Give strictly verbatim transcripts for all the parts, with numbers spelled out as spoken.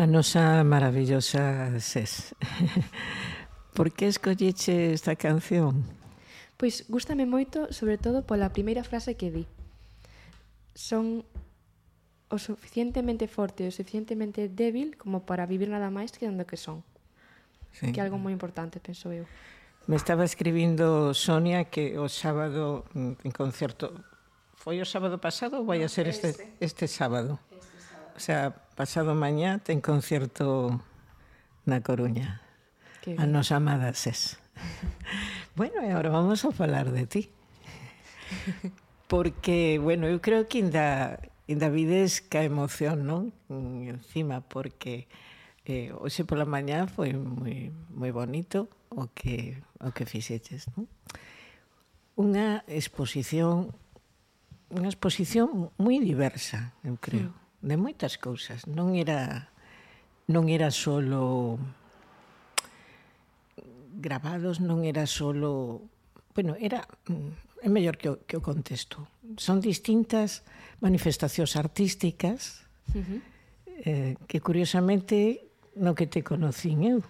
A nosa maravillosa Ses. Por que escolleche esta canción? Pois gústame moito, sobre todo pola primeira frase que di. Son o suficientemente forte e o suficientemente débil como para vivir nada máis que onde que son. Sí. Que é algo moi importante, penso eu. Me estaba escribindo Sonia que o sábado en concerto... Foi o sábado pasado ou vai a ser este, este sábado? Este sábado. O sea, pasado mañá ten concerto na Coruña. A nosa amada Ses. Bueno, e agora vamos a falar de ti. Porque, bueno, eu creo que ainda, ainda vides ca emoción, non? Encima, porque eh, hoxe pola mañá foi moi, moi bonito o que, o que fixeches, non? Unha exposición unha exposición moi diversa, eu creo, de moitas cousas. Non era non era solo gravados, non era solo... Bueno, era... É mellor que o, que o contexto. Son distintas manifestacións artísticas uh-huh. eh, que, curiosamente, no que te conocín eu,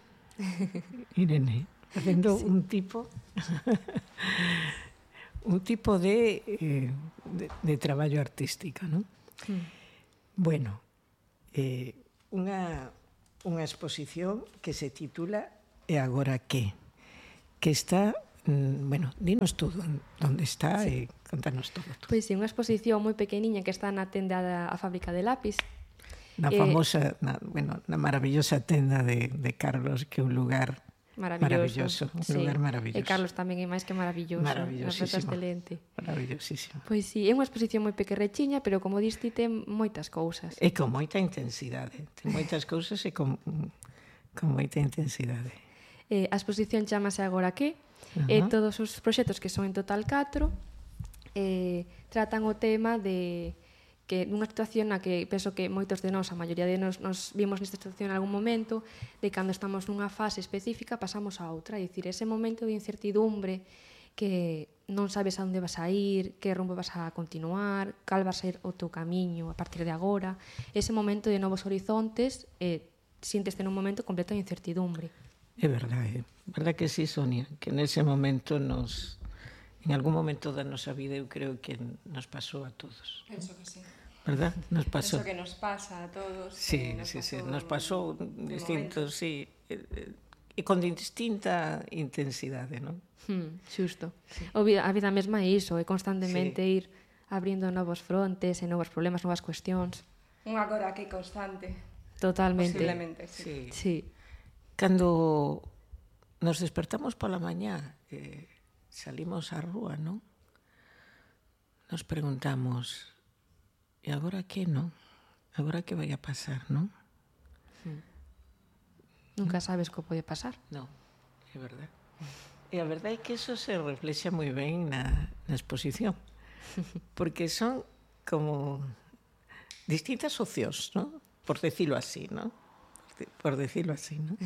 Irene, facendo sí. un tipo... un tipo de, eh, de, de traballo artístico, non? Mm. Bueno, eh, unha, unha exposición que se titula E agora que? Que está, mm, bueno, dinos todo onde está sí. e contanos todo. todo. Pois sí, unha exposición moi pequeniña que está na tenda da a fábrica de lápis. Na famosa, eh, na, bueno, na maravillosa tenda de, de Carlos, que é un lugar... Maravilloso, maravilloso, un sí. lugar maravilloso. E Carlos tamén é máis que maravilloso. Maravillosísimo. Excelente. Maravillosísimo. Pois sí, é unha exposición moi pequerrechiña, pero como diste ten moitas cousas. E con moita intensidade. Ten moitas cousas e con, con moita intensidade. Eh, a exposición chamase Agora que? Uh-huh. E todos os proxectos, que son en total catro, eh, tratan o tema de... que nunha situación na que penso que moitos de nós, a maioría de nós, nos vimos nesta situación en algún momento, de cando estamos nunha fase específica pasamos a outra, é dicir, ese momento de incertidumbre que non sabes a onde vas a ir, que rumbo vas a continuar, cal va a ser o teu camiño a partir de agora, ese momento de novos horizontes, eh, siénteste nun momento completo de incertidumbre. É verdade, é verdade que sí, Sonia, que nese momento nos... En algún momento da nosa vida eu creo que nos pasou a todos. Penso que sí. ¿Verdad? Nos pasó. Penso que nos pasa a todos. Sí, nos sí, sí, nos pasou distintos, sí, e con distinta intensidade, non? Hmm, xusto. Sí. O vida, a vida mesma é iso, é constantemente sí. ir abrindo novos frontes e novos problemas, novas cuestións. Un agora que constante. Totalmente. Posiblemente, sí. Sí. sí. Cando nos despertamos pola mañá, eh, salimos á rúa, non? Nos preguntamos... E agora que, non? Agora que vai a pasar, non? Hmm. Nunca sabes que pode pasar. Non, é verdade. E a verdade é que eso se reflexa moi ben na, na exposición. Porque son como distintas opcións, non? Por decirlo así, non? Por decirlo así, non?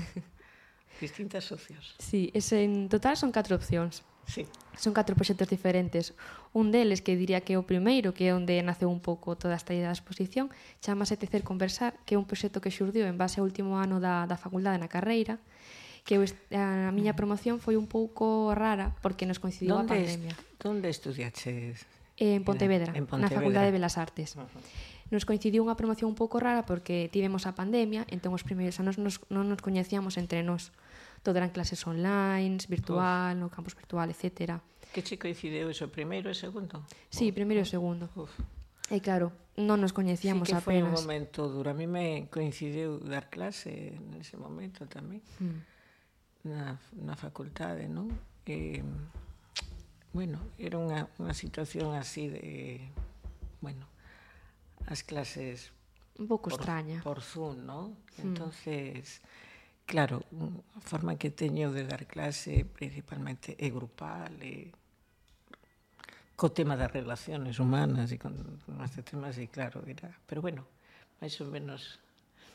Distintas opcións. Sí, ese, en total son catro opcións. Sí. Son catro proxectos diferentes. Un deles, que diría que é o primeiro, que é onde naceu un pouco toda esta idea da exposición, chamase Tecer Conversar, que é un proxecto que xurdiu en base ao último ano da, da facultade na carreira, que eu, a miña promoción foi un pouco rara, porque nos coincidiu a pandemia. Donde estudiaches? En Pontevedra, en Pontevedra, na Facultade de Belas Artes. Uh-huh. Nos coincidiu unha promoción un pouco rara porque tivemos a pandemia, entón os primeiros anos nos, non nos coñecíamos entre nós. Todo eran clases online, virtual, Uf. no campus virtual, etcétera. Que che coincideu eso, primeiro e segundo? Sí, primeiro e segundo. Uf. E claro, non nos coñecíamos apenas. Sí que foi apenas. un momento duro. A mí me coincidiu dar clase nese momento tamén. Hmm. Na, na facultade, non? E, bueno, era unha, unha situación así de... Bueno, as clases... Un pouco por, extraña. Por Zoom, non? Hmm. Entonces... Claro, a forma que teño de dar clase principalmente é grupal, e co tema das relaciones humanas e con este tema así, claro, era, pero bueno, máis ou menos,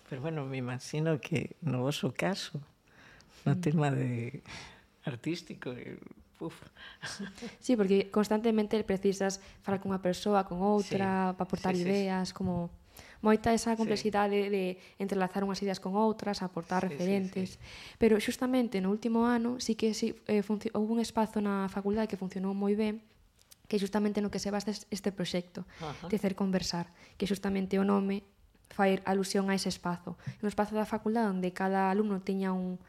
pero bueno, me imagino que no vosso caso, no mm. tema de artístico, uf. Sí, porque constantemente precisas falar con unha persoa, con outra, sí. para aportar sí, ideas, sí, como... moita esa complexidade sí. de entrelazar unhas ideas con outras, aportar sí, referentes. Sí, sí. Pero xustamente no último ano sí que sí, eh, houve un espazo na facultade que funcionou moi ben, que xustamente no que se basa este proxecto, de Tecer Conversar, que xustamente o nome fai alusión a ese espazo. Un espazo da facultade onde cada alumno tiña un,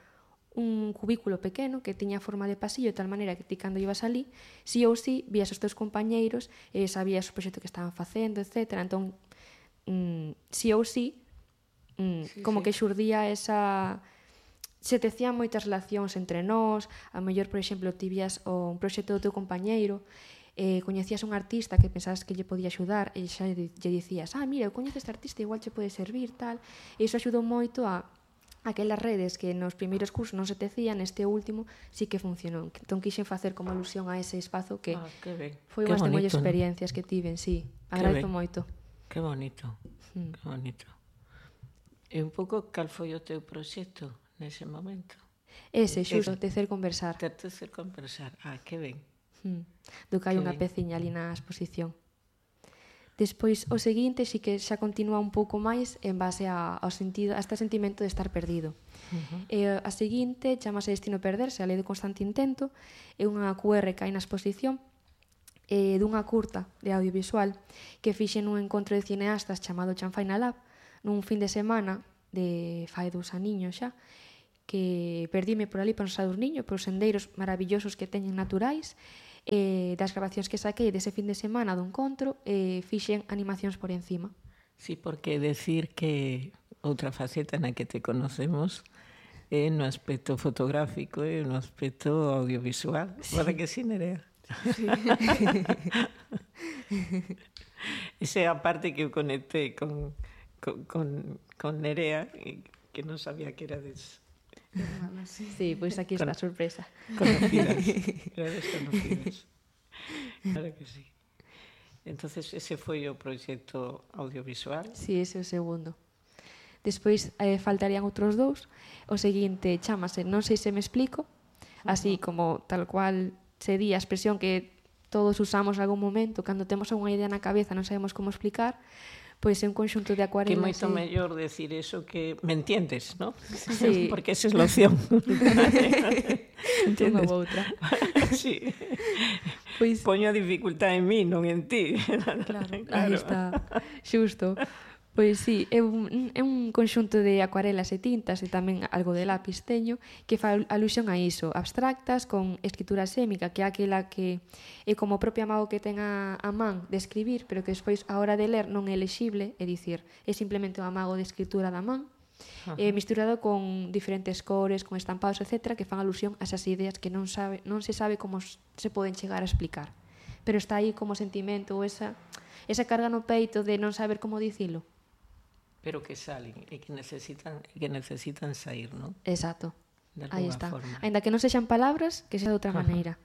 un cubículo pequeno que tiña forma de pasillo, de tal maneira que ti cando ibas ali, sí ou sí, vías os teus compañeiros, eh, sabías o proxecto que estaban facendo, etcétera. Entón, mm, sí ou sí, mm, sí como sí. que xurdía esa... Se tecían moitas relacións entre nós, a mellor, por exemplo, ti vías un proxecto do teu compañeiro, eh, coñecías un artista que pensabas que lle podía axudar e xa lle dicías, ah, mira, eu coñezo este artista, igual che pode servir, tal. E iso axudou moito a aquelas redes que nos primeiros cursos non se tecían, neste último sí que funcionou. Entón quixen facer como alusión a ese espazo que, ah, que foi unhas de moitas experiencias que tiven, sí. Agradezo moito. Que bonito, hmm. que bonito. E un pouco cal foi o teu proxecto nese momento? Ese, xusto, Tecer Conversar. Tecer Conversar, ah, que ben. Hmm. Do que hai unha peciña ali na exposición. Despois, o seguinte, sí que xa continúa un pouco máis en base a, ao sentido, a este sentimento de estar perdido. Uh-huh. E a seguinte chamase Destino Perderse, a lei do constante intento, é unha Q R que hai na exposición, eh, dunha curta de audiovisual que fixen nun encontro de cineastas chamado Chanfaina Lab, nun fin de semana de fai dous aniños xa, que perdíme por ali, por os Sadurniño, por os sendeiros maravillosos que teñen naturais, eh, das grabacións que saquei dese fin de semana do encontro, eh, fixen animacións por encima. Sí, porque decir que outra faceta na que te conocemos é no aspecto fotográfico e no aspecto audiovisual. Sí. Para que sí, Nerea? Sí. Esa é a parte que eu conectei con, con, con, con Nerea, que non sabía que era des... Hermana, sí. Sí, pois pues aquí está a sorpresa. Conocidas, era desconocidas. Claro que sí. Entonces, ese foi o proxecto audiovisual? Sí, ese é o segundo. Despois eh, faltarían outros dous. O seguinte chámase Non sei se me explico, así uh-huh. como tal cual se di a expresión que todos usamos en algún momento cando temos unha idea na cabeza non sabemos como explicar, pois é un conxunto de acuarelas. Que moito sí. mellor decir eso que me entiendes, ¿no? Sí. Porque esa é a opción. Unha ou outra. Sí. Pois... Poño a dificultade en mí, non en ti. Claro, claro. Aí está. Xusto. Pois sí, é un, é un conxunto de acuarelas e tintas e tamén algo de lápiz teño que fa alusión a iso, abstractas con escritura sémica, que é aquela que é como o propio amago que ten a, a man de escribir, pero que despois a hora de ler non é lexible, é dicir, é simplemente o amago de escritura da man, uh-huh. eh, misturado con diferentes cores, con estampados, etcétera, que fan alusión a esas ideas que non sabe, non se sabe como se poden chegar a explicar, pero está aí como sentimento ou esa, esa carga no peito de non saber como dicilo. Pero que salen e que necesitan e que necesitan sair, non? Exacto. Aí está. Forma. Ainda que non sexan palabras, que xa de outra maneira.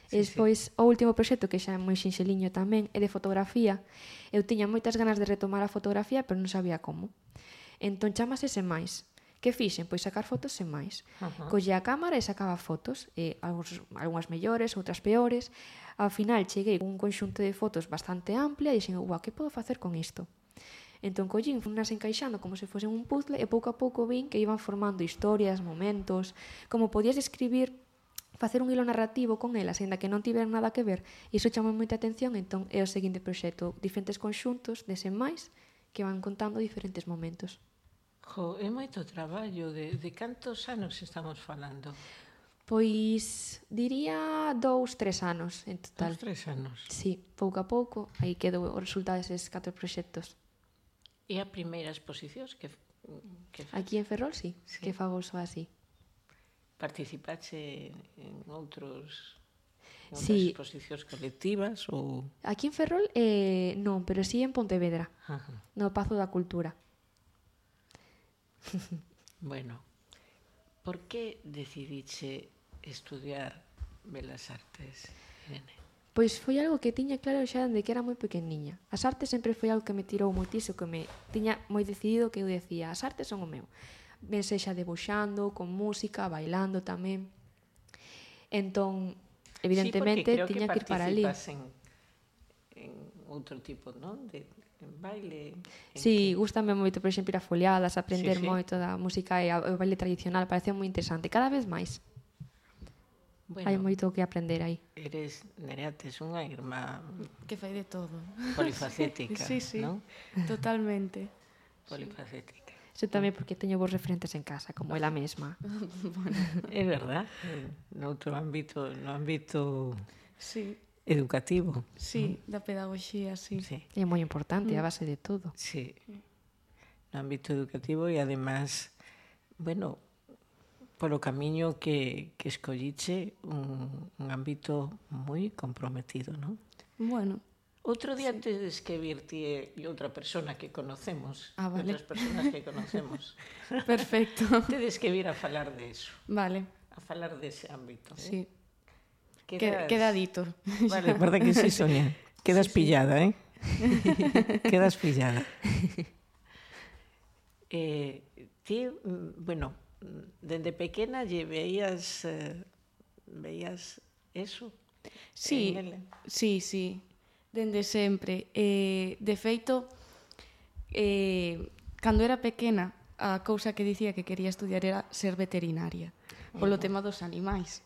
Sí, e despois, sí. o último proxecto, que xa é moi xinxeliño tamén, é de fotografía. Eu tiña moitas ganas de retomar a fotografía, pero non sabía como. Entón chamase Sen Máis. Que fixen? Pois sacar fotos sen máis. Uh-huh. Colle a cámara e sacaba fotos, e algúns, algunhas mellores, outras peores. Ao final cheguei con un conxunto de fotos bastante amplia e dixen, uau, que podo facer con isto? Entón collín, funas encaixando como se fosen un puzzle e pouco a pouco vin que iban formando historias, momentos, como podías escribir, facer un hilo narrativo con elas, ainda que non tiveran nada que ver. Iso chamou moita atención, entón é o seguinte proxecto, diferentes conxuntos de Sen Máis que van contando diferentes momentos. Jo, é moito traballo, de, de cantos anos estamos falando? Pois diría dous, tres anos en total. Dous, tres anos? Sí, pouco a pouco, aí quedou o resultado deses catro proxectos. E a primeira exposición que, que aquí en Ferrol, sí, sí. Que fagoso así. Participache en outros en outras sí. exposicións colectivas ou aquí en Ferrol eh, non, pero sí en Pontevedra. Ajá. No Pazo da Cultura. Bueno, por que decidiche estudiar Belas Artes, Irene? Pois foi algo que tiña claro xa dende que era moi pequeniña. As artes sempre foi algo que me tirou moitísimo, que me tiña moi decidido que eu decía, as artes son o meu. Ben sexa debuxando, con música, bailando tamén. Entón, evidentemente, sí, tiña que, que ir para ali. En, en outro tipo, non? De en baile? En Sí, que... gustame moito, por exemplo, ir a foliadas, aprender Sí, sí. moito da música e o baile tradicional, parece moi interesante, cada vez máis. Bueno, Hai moito que aprender aí. eres, Nerea, tes unha irmá Que fai de todo. polifacética, Sí, sí, non? totalmente. Polifacética. Eso tamén porque teño vos referentes en casa, como ela mesma. É verdad, eh, noutro ámbito, no ámbito Sí, educativo. sí, da pedagogía, sí. Sí, É moi importante, a base de todo. sí. No ámbito educativo e además, bueno, polo camiño que, que escolliche un, un ámbito moi comprometido, non? Bueno, Outro día sí. Tedes que vir ti e outra persona que conocemos, Ah, vale. outras personas que conocemos. perfecto. Tedes que vir a falar de eso, Vale, a falar dese ámbito. sí. Eh? Queda, queda dito. Vale, verdad que sí, Sonia. Quedas Sí, sí. pillada, eh? Quedas pillada. Eh, ti, mm, bueno, dende pequena lle veías, eh, veías eso? Sí, en ela? sí, sí, dende sempre. Eh, de feito, eh, cando era pequena, a cousa que dicía que quería estudiar era ser veterinaria, polo tema dos animais.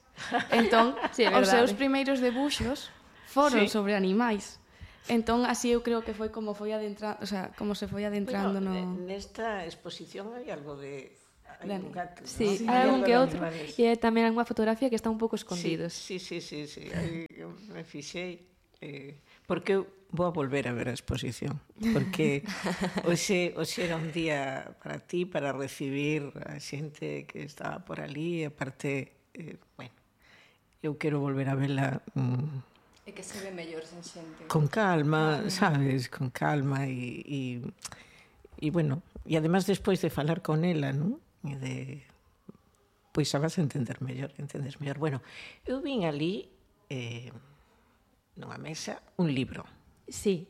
Entón, Sí, é os verdade. seus primeiros debuxos foron Sí. sobre animais. Entón, así eu creo que foi como foi adentrando, o sea, como se foi adentrando Bueno, no... nesta exposición hai algo de... Hai De- un gato, Sí, ¿no? hai algún algo que de outro animales. e tamén unha fotografía que está un pouco escondidos. Sí, sí, sí, sí, sí. Aí eu me fixei eh, porque eu vou a volver a ver a exposición porque hoxe, hoxe era un día para ti, para recibir a xente que estaba por ali e aparte, eh, bueno, eu quero volver a vela mm, É que se ve mellor sen xente. con calma, sabes, con calma e, e, e bueno, e además despois de falar con ela, non? E de pois xa vas a entender mellor, entendes mellor. Bueno, eu vin ali eh, nunha mesa un libro. Sí.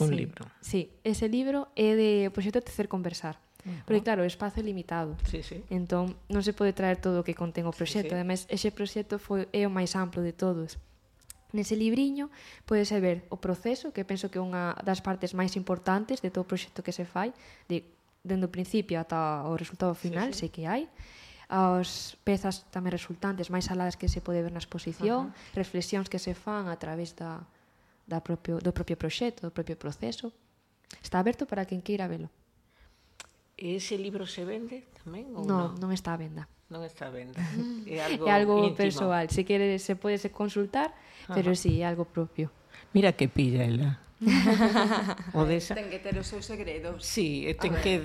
Un sí, libro. Sí, ese libro é de o proxecto Tecer Conversar. Uh-huh. Porque claro, o espazo é limitado. Sí, sí. Entón, non se pode traer todo o que contén o proxecto. Sí, sí. Ademais, ese proxecto foi, é o máis amplo de todos. Nese libriño podese ver o proceso, que penso que é unha das partes máis importantes de todo o proxecto que se fai, de, dende o principio ata o resultado final, Sí, sí. sei que hai, as pezas tamén resultantes máis aladas que se pode ver na exposición, uh-huh. reflexións que se fan a través da, da propio, do propio proxecto, do propio proceso. Está aberto para quen queira velo. E ese libro se vende tamén ou Non, non? non está a venda. Non está a venda. É algo, É algo íntimo. persoal. Se quere, se pode consultar, pero Ajá. sí, é algo propio. Mira que pilla ela. O desa. Ten que ter os seus segredos. Sí, e ten que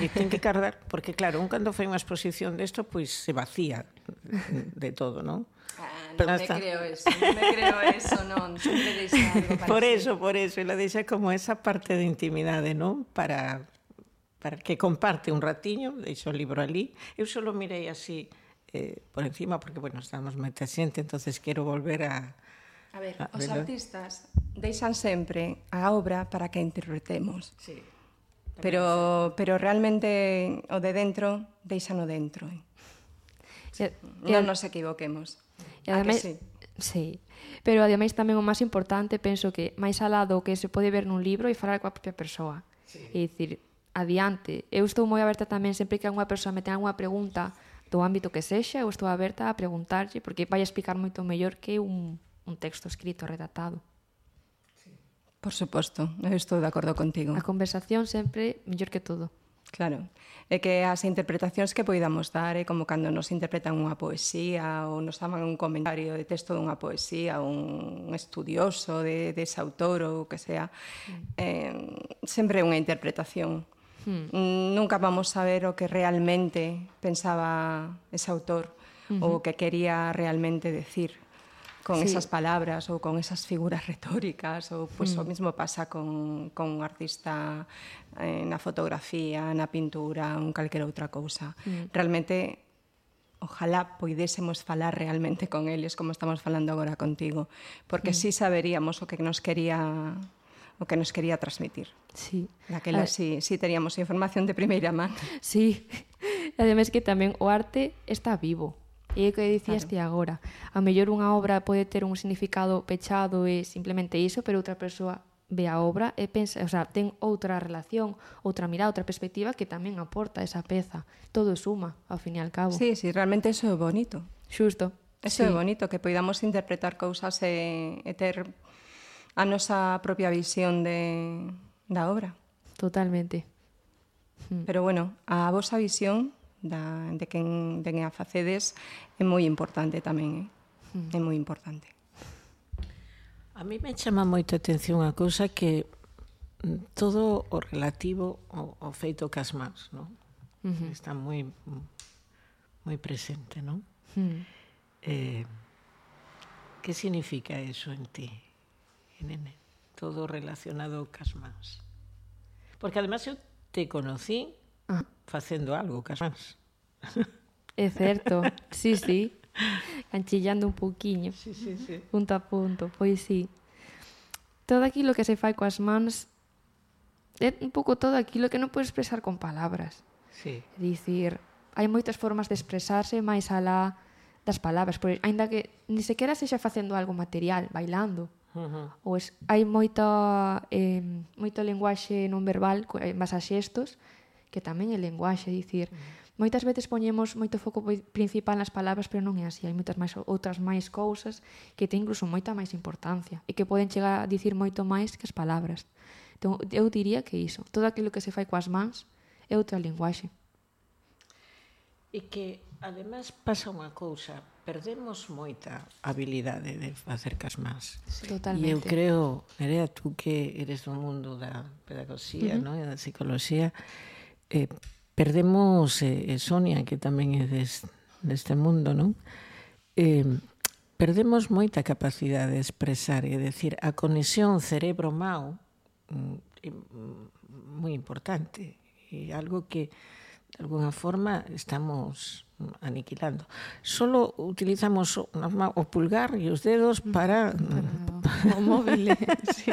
e ten que cardar, porque claro, un cando fai unha exposición desto, pois se vacía de todo, non? Ah, non Pero me está. creo eso, non me creo eso, non. Sempre deixa algo para Por sí. eso, por eso, ela deixa como esa parte de intimidade, non? Para para que comparte un ratiño, deixo o libro ali. Eu só lo mirei así eh, por encima, porque, bueno, estamos moita xente, entonces quero volver a... A ver, Ah, os velo. artistas deixan sempre a obra para que a interpretemos. Sí. Pero, pero realmente o de dentro, deixano dentro. Eh? E, e, Non nos equivoquemos. e A que ademais, sí? sí. Pero ademais tamén o máis importante, penso que máis alá do que se pode ver nun libro e falar coa propia persoa. Sí. E dicir, adiante. Eu estou moi aberta tamén sempre que unha persoa me ten algunha pregunta do ámbito que sexa, eu estou aberta a preguntarlle, porque vai a explicar moito mellor que un, un texto escrito, redactado. Por suposto, eu estou de acordo contigo. A conversación sempre mellor que todo. Claro, é que as interpretacións que poidamos dar é como cando nos interpretan unha poesía ou nos daban un comentario de texto dunha poesía, un estudioso de, de ese autor ou o que sea, eh, sempre é unha interpretación. Hmm. Nunca vamos a ver o que realmente pensaba ese autor uh-huh. ou o que quería realmente decir con sí. esas palabras ou con esas figuras retóricas ou pois pues, mm. o mismo pasa con, con un artista eh, na fotografía, na pintura, un calquera outra cousa. Mm. Realmente, ojalá poidésemos falar realmente con eles como estamos falando agora contigo, porque mm. sí saberíamos o que nos quería o que nos quería transmitir. Sí. Daquela sí, sí teríamos información de primeira man. Sí. Ademais que tamén o arte está vivo. E é o que dicías ti agora. A mellor unha obra pode ter un significado pechado e simplemente iso, pero outra persoa ve a obra e pensa, o sea, ten outra relación, outra mirada, outra perspectiva que tamén aporta esa peza. Todo suma, ao fin e al cabo. Sí, sí, realmente eso é bonito. Xusto. Eso sí. é bonito, que poidamos interpretar cousas e, e ter a nosa propia visión de, da obra. Totalmente. Pero bueno, a vosa visión da, de quen, de quen a facedes é moi importante tamén, eh? É moi importante. A mí me chama moito a atención a cousa que todo o relativo ao, ao feito cas mans, non? Uh-huh. Está moi moi presente, non? Uh-huh. Eh, que significa eso en ti, nene? Todo relacionado cas mans. Porque además eu te conocí ah. facendo algo cas mans. É certo, sí, sí. Canchillando un pouquiño. Sí, sí, sí. Punto a punto, pois sí. Todo aquilo que se fai coas mans é un pouco todo aquilo que non podes expresar con palabras. Sí. É dicir, hai moitas formas de expresarse máis alá das palabras, pois, aínda que ni sequera sexa facendo algo material, bailando. Uh-huh. Ou es, hai moita eh, moito lenguaxe non verbal en base a xestos que tamén é lenguaxe, é dicir, uh-huh. moitas veces poñemos moito foco principal nas palabras, pero non é así, hai moitas máis outras máis cousas que ten incluso moita máis importancia e que poden chegar a dicir moito máis que as palabras. Entón, eu diría que iso, todo aquilo que se fai coas mans é outra linguaxe. E que, además, pasa unha cousa, perdemos moita habilidade de facer cas mans. Sí. Totalmente. E eu creo, Nerea, tú que eres do mundo da pedagogía, uh-huh. ¿no? E da psicología, eh, perdemos, eh, Sonia, que tamén é des, deste mundo, non? Eh, perdemos moita capacidade de expresar, e decir, a conexión cerebro-mao é moi importante, e algo que de alguna forma estamos aniquilando. Solo utilizamos o, o pulgar e os dedos para... para o móvil, sí.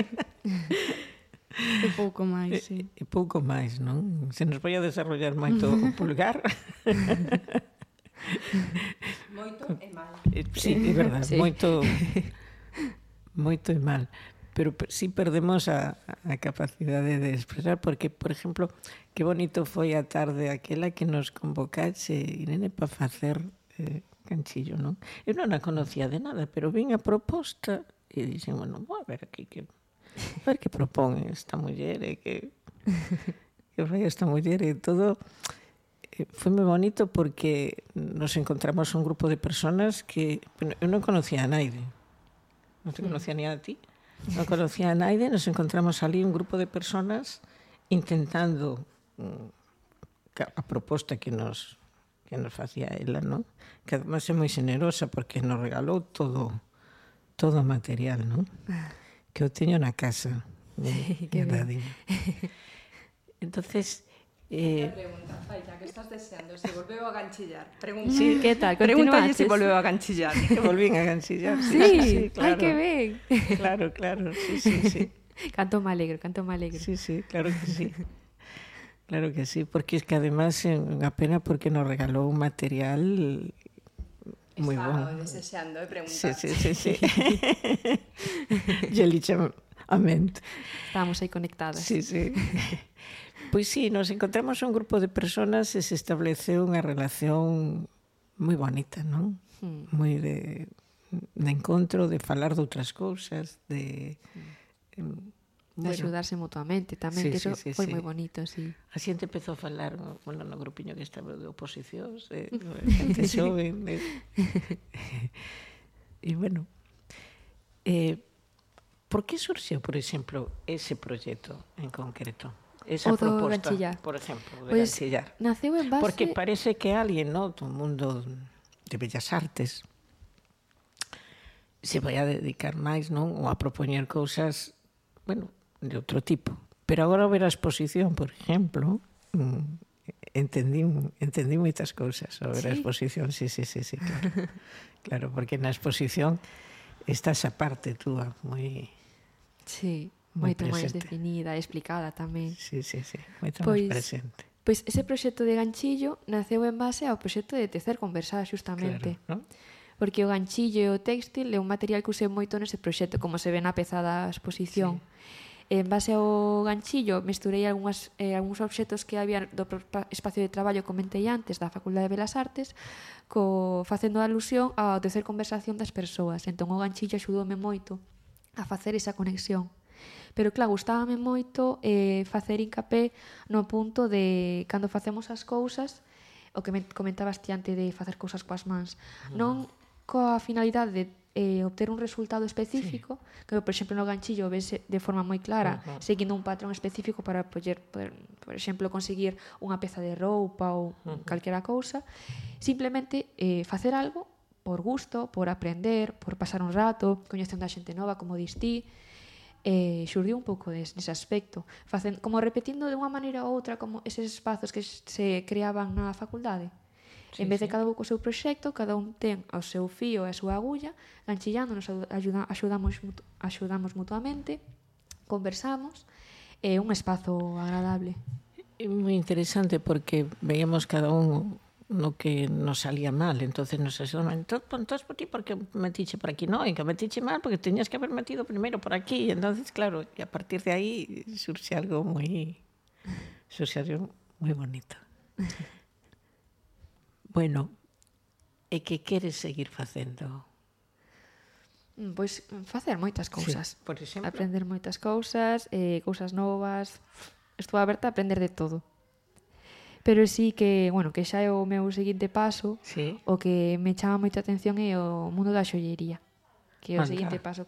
E pouco máis, sí. E, e pouco máis, non? Se nos vai a desarrollar moito o pulgar... Moito e mal. Sí, é verdade, sí. moito, moito e mal. Pero sí perdemos a, a capacidade de expresar, porque, por exemplo, que bonito foi a tarde aquela que nos convocaxe, Irene, para facer eh, canchillo, non? Eu non a conocía de nada, pero vin a proposta e dixen, bueno, vou a ver aquí que... A ver que propón esta muller e que... que fai esta muller e todo... Eh, foi moi bonito porque nos encontramos un grupo de personas que... Bueno, eu non conocía a naide. Non te conocía ni a ti. Non conocía a naide, nos encontramos ali un grupo de personas intentando a proposta que nos que nos facía ela, non? Que además é moi xenerosa porque nos regalou todo todo o material, non? Que eu teño na casa. Sí, que ben. Entonces, eh, pregunta, Faita, que estás deseando? Se volveu a ganchillar. Pregunta. Sí, que tal? Pregúntalle se volveu a ganchillar. Que volvín a ganchillar. Sí, sí, sí, claro. Ai, que ben. Claro, claro, sí, sí, sí. Canto me alegro, canto me alegro. Sí, sí, claro que sí. Claro que sí, porque es que además é unha pena porque nos regalou un material moi bon. Estaba desexando, eh, preguntar. Sí, sí, sí, sí. Yo lixa ament. Estábamos aí conectadas. Sí, sí. Pois sí, nos encontramos un grupo de personas e se estableceu unha relación moi bonita, non? Mm. Moi de, de encontro, de falar de outras cousas, de... Mm. De bueno, axudarse mutuamente tamén, sí, que eso sí, sí, foi sí. moi bonito, sí. A xente empezou a falar, bueno, no grupiño que estaba de oposicións, de, de xente xoven, de... e bueno, eh, por que surxeu, por exemplo, ese proxecto en concreto? Esa proposta, ganchillar. Por exemplo, de pues, ganchillar. Naceu en base... Porque parece que alguén, no, do mundo de bellas artes se vai a dedicar máis, non? Ou a propoñer cousas, bueno, de outro tipo. Pero agora ao ver a exposición, por exemplo, entendí, entendí moitas cousas ao ver ¿Sí? a exposición. Sí, sí, sí, sí, claro. Claro, porque na exposición está esa parte túa moi... Sí, moito máis definida, explicada tamén. Sí, sí, sí, moito pois, máis presente. Pois ese proxecto de ganchillo naceu en base ao proxecto de tecer conversar, xustamente. Claro, ¿no? Porque o ganchillo e o textil é un material que usei moito nese proxecto, como se ve na peza da exposición. Sí. En base ao ganchillo, mesturei algunhas, eh, algúns obxetos que había do espacio de traballo, comentei antes, da Facultade de Belas Artes, co, facendo alusión ao tecer conversación das persoas. Entón, o ganchillo axudoume moito a facer esa conexión. Pero, claro, gustábame moito eh, facer hincapé no punto de cando facemos as cousas, o que me comentabas ti antes de facer cousas coas mans, non coa finalidade de eh, obter un resultado específico, sí. Que, por exemplo, no ganchillo ves de forma moi clara, uh -huh. seguindo un patrón específico para poder, poder, por exemplo, conseguir unha peza de roupa ou uh -huh. calquera cousa, simplemente eh, facer algo por gusto, por aprender, por pasar un rato, coñecendo a xente nova, como dis ti, eh, xurdiu un pouco des, nese aspecto, facen, como repetindo de unha maneira ou outra como eses espazos que se creaban na facultade. Sí, en vez de sí. cada un co seu proxecto, cada un ten o seu fío e a súa agulla, ganchillando, nos ajuda, axudamos, axudamos mutuamente, conversamos, é un espazo agradable. É moi interesante porque veíamos cada un no que nos salía mal, entonces nos axudamos, entón, entón por ti porque metiche por aquí, no, e que metiche mal porque teñas que haber metido primeiro por aquí, entonces claro, e a partir de aí surxe algo moi surxe algo moi bonito. Bueno, e que queres seguir facendo? Pois facer moitas cousas. Sí, por exemplo. Aprender moitas cousas, eh, cousas novas. Estou aberta a aprender de todo. Pero sí que, bueno, que xa é o meu seguinte paso, sí. O que me chama moita atención é o mundo da xollería, que é o Anda. seguinte paso que